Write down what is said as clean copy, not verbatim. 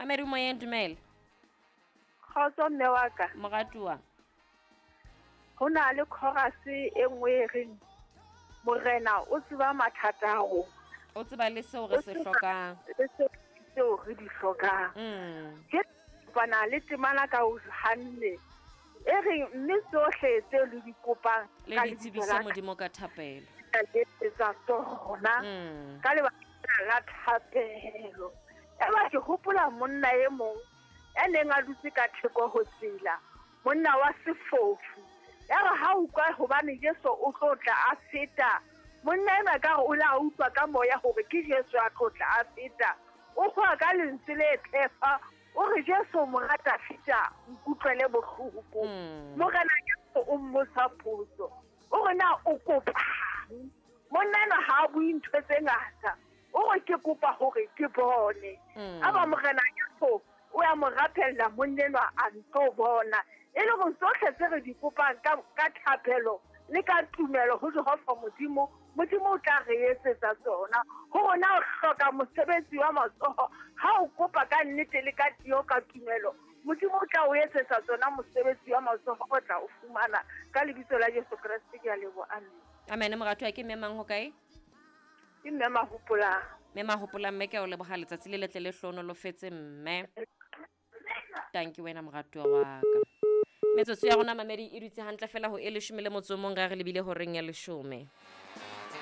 Mamedi moyeng, dumela. Kgotso mme wa ka. Moratuwa. Ho na le chorus e nngwe e reng Morena o tseba mathata a rona. O tseba le seo re se hlokang. Le seo re di hlokang. Ke kopana le temana ka o hanne e reng mme tsohle tse le di kopang le di tsebise Modimo ka thapelo. Ka etsa tsona ka lebaka la thapelo. Eba ke hopola monna e mong ya neng a dutse ka theko ho tsela, monna wa sefofu. Ya re ha utlwa hobane Jesu o tlo tla a feta, monna enwa ka re o la utlwa ka moya hore ke Jesu a tlo tla a feta. O kgowa ka lentswe le phefa, o re Jesu mora Dafita, nkutlwele bohloko. Morena Jesu o mmotsa potso, o re na o kopang? Monna enwa ha a bue ntho tse ngata. O re ke kopa hore ke bone. A ba Morena Jesu o ya mo rapella monna enwa a ntlo bona. E le hore tsohle tse re di kopang ka, ka thapelo le ka tumelo ho Jehova Modimo, Modimo o tla re etsetsa tsona. Ho rona o hloka mosebetsi wa matsoho, ha o kopa ka nnete le ka tiyo ka tumelo, Modimo o tla o etsetsa tsona mosebetsi wa matsoho o tla o fumana. Ka lebitso la Jesu Kreste ke a leboha. Amen. Amen. Moratuwa ke mme mang ho kae? Ke mme Mahopolang. Mme Mahopolang, mme ke a o leboga letsatsi le letle le hlohonolofetse mme. Tanki wena moratuwa wa ka. Metsotso ya rona mamedi e dutse hantle fela ho e leshome le motso o mong ra re lebile horeng ya leshome.